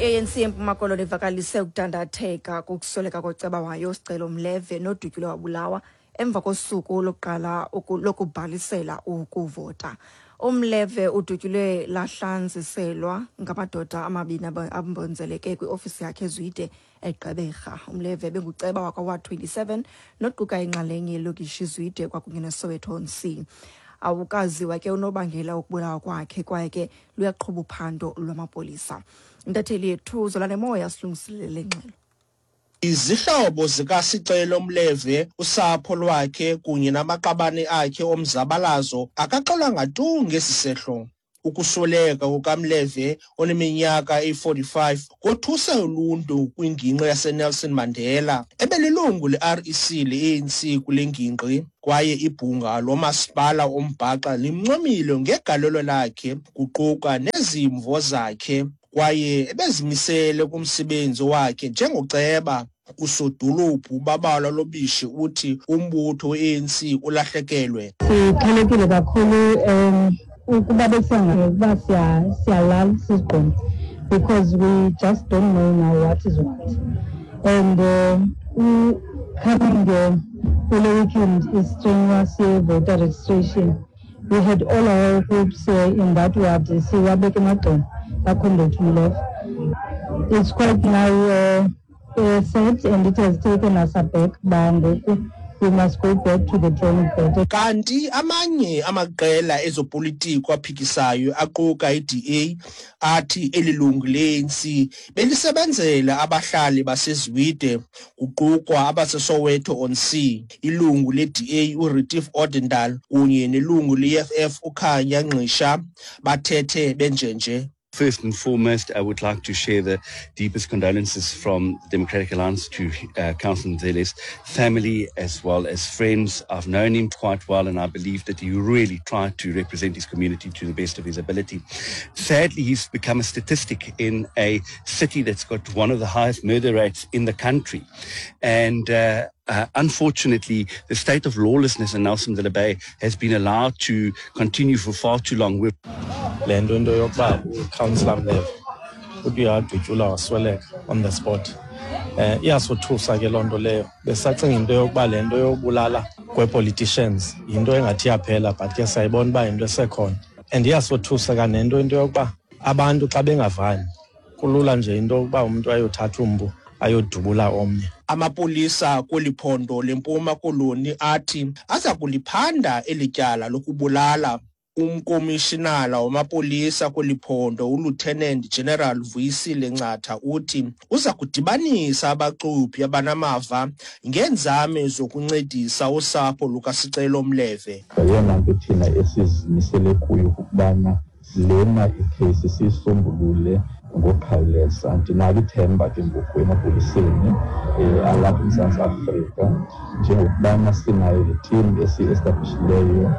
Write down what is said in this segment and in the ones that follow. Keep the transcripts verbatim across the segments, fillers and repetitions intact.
I-A N C eMpuma Koloni ivakalise ukudandatheka kokusweleka koceba wayo Sicelo Mleve nodutyulwe wabulawa emva kosuku lokuqala lokubhalisela ukuvota. Umleve udutyulwe lahlanziselwa ngamadoda amabini ambonzeleke kwiofisi yakhe eZwide eGqeberha. Umleve benguceba wakwa-Ward twenty-seven noquka inxalenye yelokishi Zwide kwakunye neSoweto on Sea. Awukaziwa ke unobangela wokubulawa kwakhe kwaye ke luyaqhuba uphando lwamapolisa. Intatheli yethu Zolane Moya silungiselele ngxelo. Izihlobo zikaSicelo Mleve, usapho lwakhe kunye namaqabane akhe omzabalazo akaxolanga tu ngesi sehlo. Ukusweleka kukaMleve oneminyaka eyi-forty-five kothuse uluntu kwingingqi yaseNelson Mandela. Ebelilungu le-R E C le-A N C kule ngingqi kwaye ibhunga lomasipala ombhaxa limncomile ngegalelo lakhe kuquka nezimvo zakhe kwaye ebezimisele kumsebenzi wakhe njengoceba. Usodolophu Babalwa Lobishi uthi umbutho we-A N C ulahlekelwe. Sixhelekile kakhulu um ukuba besiyanga ukuba siyalala siziqonde because we just don't know now what is what. And uh, coming uh, kule weekend is strenuous voter registration. We had all our hopes uh, in that ward siwabeke emagxeni kaComrade Mleve. It's quite now uh, uh, sad and it has taken us aback ngoku we must go back to the drawing board. Kanti amanye amaqela ezopolitiko aphikisayo aquka i-D A athi elilungu le-A N C belisebenzela abahlali baseZwide kuqukwa abaseSoweto on Sea. Ilungu le-D A uRetief Odendaal kunye nelungu le-E F F uKhanya Ngqisha bathethe benjenje. First and foremost, I would like to share the deepest condolences from the Democratic Alliance to uh, Councillor Nzele's family as well as friends. I've known him quite well and I believe that he really tried to represent his community to the best of his ability. Sadly, he's become a statistic in a city that's got one of the highest murder rates in the country. And uh, Uh, unfortunately, the state of lawlessness in Nelson Mandela Bay has been allowed to continue for far too long. Le nto into yokuba uCouncillor Mleve uthi uyadutyulwa wasweleka on the spot. Eh iyasothusa ke loo nto leyo. Besacinga into yokuba le nto yobulala kwe-politicians yinto engathi iyaphela, but ke siyayibona uba yinto esekhona. And iyasothusa kanento into yokuba abantu xa bengavani kulula nje into yokuba umntu ayothatha umpu ayodubula omnye. Amapolisa kweli phondo leMpuma Koloni athi aza kuliphanda eli tyala lokubulala. Umkomishinala wamapolisa kweli phondo uLieutenant General Vuyisile Ncatha uthi uza kudibanisa abacuphi abanamava ngeenzame zokuncedisa usapho lukaSicelo Mleve. Eyona nto thina esizimisele kuyo kukubana lena ikheyisi siyisombulule ngokukhawuleza. Ndinalo ithemba ke ngoku emapoliseni alapha eMzantsi Afrika njengokubana sinayo le team esiyi-establishileyo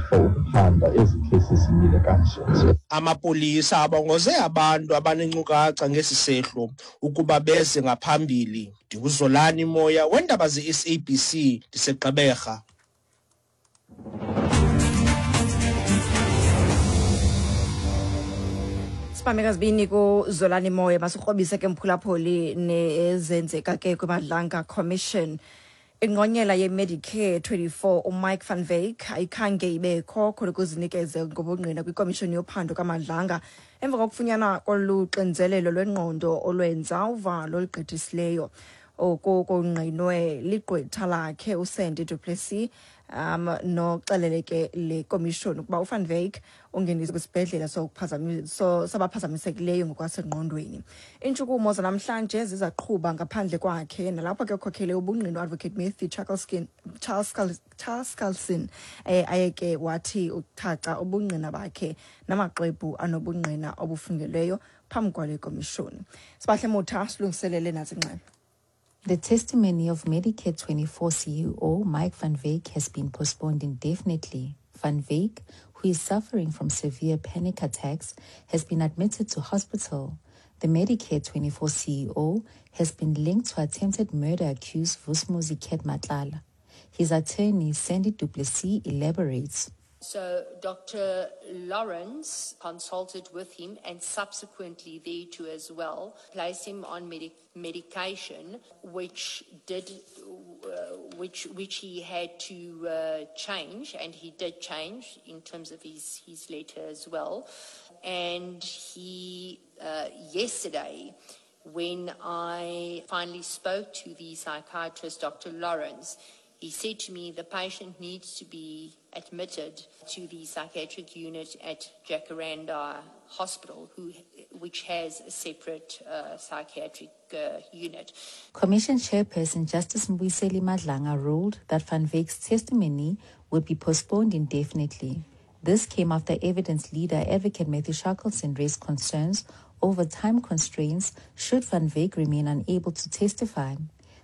for ukuphanda ezi kheyisi zimile kanje. Amapolisa abongoze abantu abanenkcukacha ngesi sehlo ukuba beze ngaphambili. NdinguZolani Moya weendaba ze-S A B C ndiseGqeberha. Sibameka zibini kuZolani Moya masikrobise ke mphulaphuli nezenzeka ke kwiMadlanga Commission. Ingqonyela ye-Medicare twenty-four uMike van Wyk ayikhange ibekho khona ukuzinikeze ngobungqina kwikomishoni yophando kaMadlanga emva kokufunyanwa koluxinzelelo lwengqondo olwenza uvalo olugqithisileyo. Oku kungqinwe ligqwetha lakhe uSandy du Plessis um noxelele ke le komishoni ukuba uVan Wyk ungeniswe kwisibhedlela so sabaphazamisekileyo ngokwasengqondweni. Iintshukumo zanamhlanje zizaqhuba ngaphandle kwakhe nalapho ke ukhokhele ubungqina uAdvocate Matthew Chaskalson eh ayeke wathi uthaca ubungqina bakhe namaxwebhu anobungqina obufungelweyo phambi kwale komishoni. Sibahle Motha silungiselele nazi ingxelo. The testimony of Medicare twenty-four C E O Mike van Wyk has been postponed indefinitely. Van Wyk, who is suffering from severe panic attacks, has been admitted to hospital. The Medicare twenty-four C E O has been linked to attempted murder accused Vusumuzi Cat Matlala. His attorney, Sandy du Plessis, elaborates. So Doctor Lawrence consulted with him and subsequently thereto as well, placed him on medic- medication, which did, uh, which, which he had to uh, change, and he did change in terms of his, his letter as well. And he, uh, yesterday, when I finally spoke to the psychiatrist, Doctor Lawrence, he said to me the patient needs to be admitted to the psychiatric unit at Jacaranda Hospital, who, which has a separate uh, psychiatric uh, unit. Commission Chairperson Justice Mbuyiseli Madlanga ruled that Van Wyk's testimony would be postponed indefinitely. This came after evidence leader Advocate Matthew Shackleton raised concerns over time constraints should Van Wyk remain unable to testify.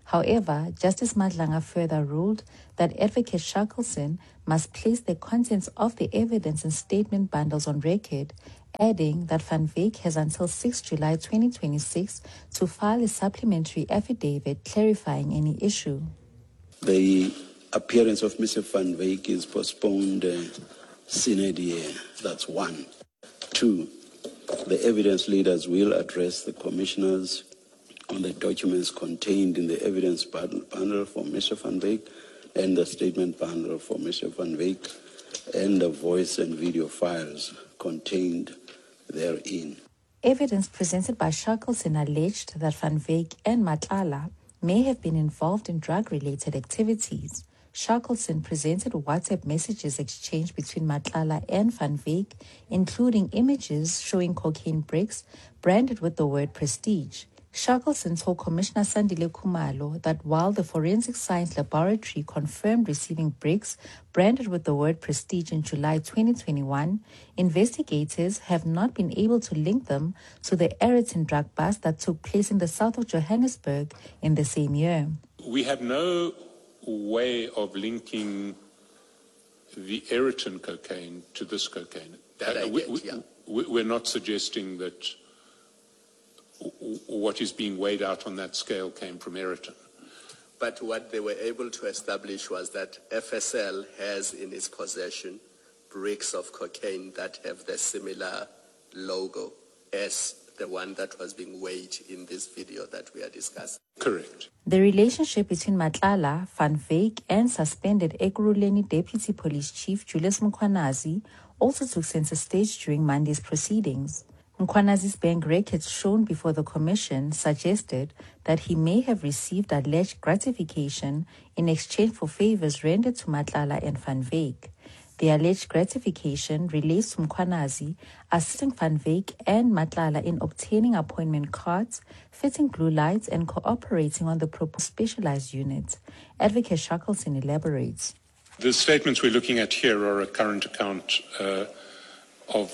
However, Justice Madlanga further ruled that Advocate Shackleton must place the contents of the evidence and statement bundles on record, adding that Van Wyk has until sixth July twenty twenty-six to file a supplementary affidavit clarifying any issue. The appearance of Mister Van Wyk is postponed uh, sine die. That's one. Two, the evidence leaders will address the commissioners on the documents contained in the evidence bundle for Mister Van Wyk and the statement bundle for Mister Van Wyk and the voice and video files contained therein. Evidence presented by Shackleton alleged that Van Wyk and Matlala may have been involved in drug-related activities. Shackleton presented WhatsApp messages exchanged between Matlala and Van Wyk, including images showing cocaine bricks branded with the word Prestige. Shackleton told Commissioner Sandile Khumalo that while the Forensic Science Laboratory confirmed receiving bricks branded with the word Prestige in July twenty twenty-one, investigators have not been able to link them to the Aeroton drug bust that took place in the south of Johannesburg in the same year. We have no way of linking the Aeroton cocaine to this cocaine. That I uh, we, get, we, yeah. we, we're not suggesting that what is being weighed out on that scale came from Aeroton. But what they were able to establish was that F S L has in its possession bricks of cocaine that have the similar logo as the one that was being weighed in this video that we are discussing. Correct. The relationship between Matlala, Van Wyk, and suspended Ekurhuleni Deputy Police Chief Julius Mkhwanazi also took center stage during Monday's proceedings. Mkhwanazi's bank records shown before the commission suggested that he may have received alleged gratification in exchange for favors rendered to Matlala and Van Wyk. The alleged gratification relates to Mkhwanazi assisting Van Wyk and Matlala in obtaining appointment cards, fitting blue lights, and cooperating on the proposed specialized unit. Advocate Shackleton elaborates. The statements we're looking at here are a current account uh, of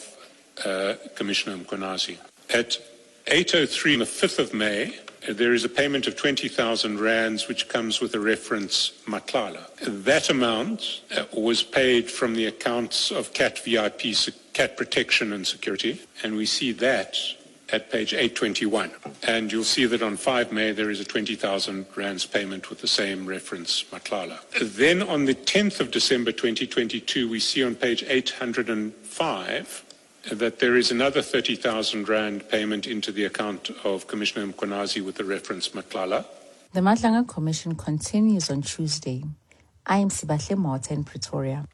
Uh, Commissioner Mkhwanazi. At eight oh three on the fifth of May, uh, there is a payment of twenty thousand rands which comes with a reference Matlala. That amount uh, was paid from the accounts of C A T V I P, C A T Protection and Security, and we see that at page eight twenty-one. And you'll see that on five May there is a twenty thousand rands payment with the same reference Matlala. Then on the tenth of December twenty twenty-two, we see on page eight hundred and five that there is another thirty thousand rand payment into the account of Commissioner Mkhwanazi with the reference Matlala. The Madlanga Commission continues on Tuesday. I am Sibahle Motha in Pretoria.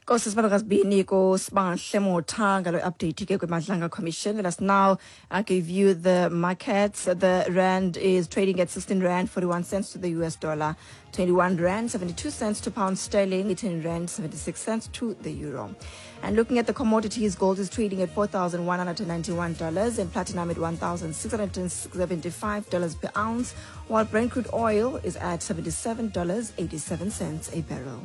Nkosi Sibabakazibini kuSibahle Motha ngalo update ke kwiMadlanga Commission. Let us now uh, give you the markets. The rand is trading at sixteen rand forty-one cents to the U S dollar, twenty-one rand seventy-two cents to pound sterling, eighteen rand seventy-six cents to the euro. And looking at the commodities, gold is trading at four thousand one hundred ninety-one dollars and platinum at one thousand six hundred seventy-five dollars per ounce, while Brent crude oil is at seventy-seven dollars eighty-seven cents a barrel.